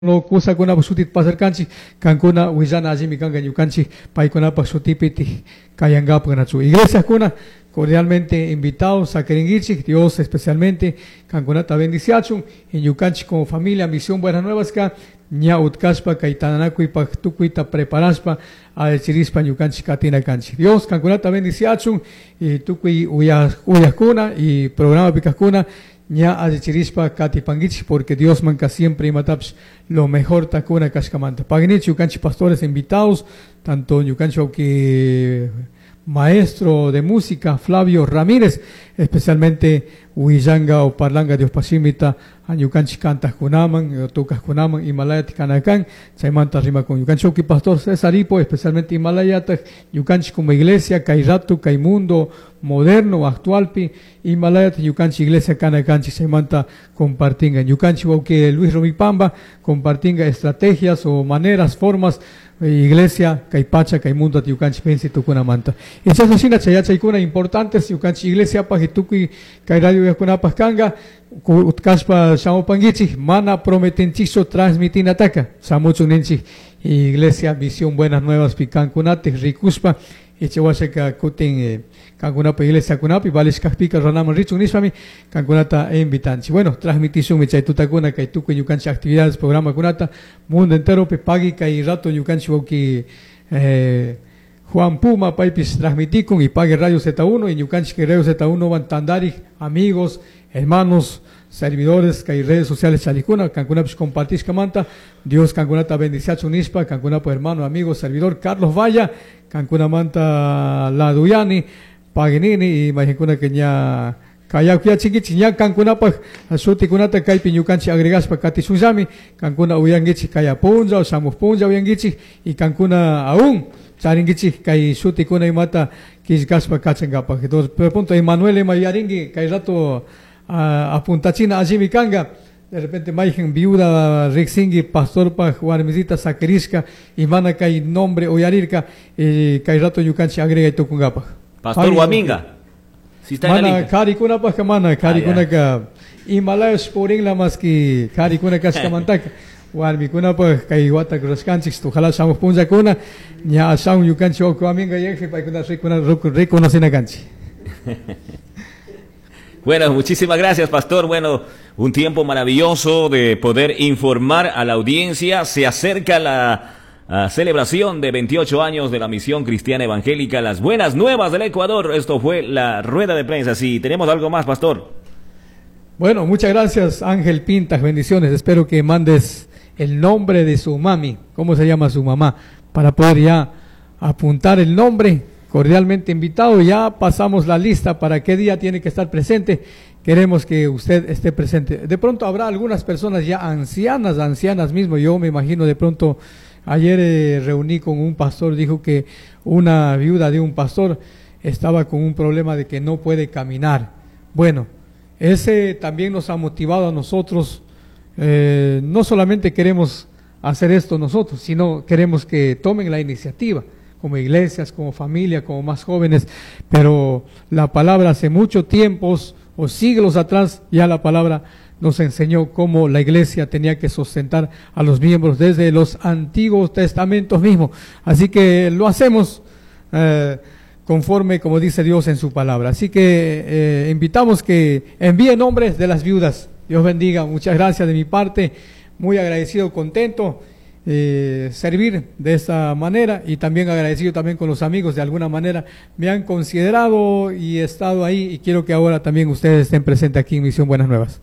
Kusakunapaj shutita pasarkanchik, kankuna willana allimi kanka ñukanchik paykunapaj shutipi kayankapaj nachu. Iglesiakuna cordialmente invitados saquiringuichik, Dios especialmente kankunata bendiciachun y ñukanchik como familia Misión Buenas Nuevas ka ña utkashpa kay tananakuypaj tukuyta preparashpa allichirishpa ñukanchik katina kanchik. Dios kankunata bendiciachun y tukuy uyajkuna y programa kajkuna ña allichirishpa katipanguichik porque Dios manka siempre imatapish lo mejor takuna kashkamanta. Pagnichi ñukanchik pastores invitados, tanto ñukanchik que maestro de música Flavio Ramírez, especialmente huillanga o parlangka Dios pashimita ñukanchik kantaqkunaman, tocaqkunaman Himalayata kanakan, chaymanta rimakun ñukanchik pastor César Ipo, especialmente Himalayata ñukanchik como iglesia, kay rato, kay mundo moderno, actualpi, Himalayata ñukanchik iglesia kanakanchik, chaymanta compartinga ñukanchik wawqi Luis Rumipamba, compartinga estrategias o maneras, formas, iglesia, kay pacha, kay mundo ñukanchik venci tukunamanta. Y chashna shina chay yachaykuna importantes ñukanchik iglesiapaj y tukuy kay radio uyajkunapaj kanga, utkashpa shamupanguichik, mana prometinchikchu transmitinataka, shamuchun ninchik iglesia Misión Buenas Nuevas pi kankunatik rikushpa, y chawashaka kutin kankunapa iglesiakunapi valishkajpika runaman richun nishpami kankunata invitanchik. Bueno, transmitishunmi chay tutakuna kay tukuy ñukanchik actividades, programakunata mundo enteropi pagui kay rato ñukanchik wawqi Juan Puma paypis transmitikun y pague Radio Z1 y ñukanchik Radio Z1 van tandarik amigos, hermanos, servidores kay redes sociales chalikuna, kankunapis compartishkamanta, Dios kankunata bendiciachun nishpa, kankunapa hermano, amigo, servidor Carlos Valla, kankunamanta Laduyani, Paginini y majinkuna que ña kayakuyachinkichik, ña kankunapaj shutikunata kaypi ñukanchik agregashpa katishunllami, kankuna uyankichik kaya punlla o shamuj punlla uyankichik y kankuna aún charinkichik kay shutikuna imata killkashpa kachankapaj. Entonces, por punto Emanuel ima yarinki kay rato apuntachina allimi kanga, de repente mayhan viuda riksinki pastorpaj warmisita saquirishka y mana kay nombre uyarirka y kay rato ñukanchik agregay tukunkapaj. Pastor Guaminga. Si está en la Mana lista. karikunapajka mana, karikunaka Himalayas purinla más que karikuna kashkamantaka. Warmikunapaj kay wata rurashkanchik, ojalá shamuj punllakuna, ña ashaun ñukanchik wawqi Guaminga yayji paykuna reconocina kanchik. Bueno, muchísimas gracias, pastor. Bueno, un tiempo maravilloso de poder informar a la audiencia. Se acerca la celebración de 28 años de la Misión Cristiana Evangélica, las Buenas Nuevas del Ecuador. Esto fue la rueda de prensa. Si tenemos algo más, pastor. Bueno, muchas gracias, Ángel Pintas. Bendiciones. Espero que mandes el nombre de su mami, cómo se llama su mamá, para poder ya apuntar el nombre. Cordialmente invitado, ya pasamos la lista para qué día tiene que estar presente. Queremos que usted esté presente. De pronto habrá algunas personas ya ancianas, ancianas mismo. Yo me imagino de pronto, ayer reuní con un pastor, dijo que una viuda de un pastor estaba con un problema de que no puede caminar. Bueno, ese también nos ha motivado a nosotros. No solamente queremos hacer esto nosotros, sino queremos que tomen la iniciativa, como iglesias, como familia, como más jóvenes, pero la palabra hace mucho tiempos o siglos atrás, ya la palabra nos enseñó cómo la iglesia tenía que sustentar a los miembros desde los antiguos testamentos mismos. Así que lo hacemos conforme como dice Dios en su palabra. Así que invitamos que envíen nombres de las viudas. Dios bendiga, muchas gracias de mi parte, muy agradecido, contento. Servir de esta manera y también agradecido también con los amigos, de alguna manera me han considerado y he estado ahí y quiero que ahora también ustedes estén presentes aquí en Misión Buenas Nuevas.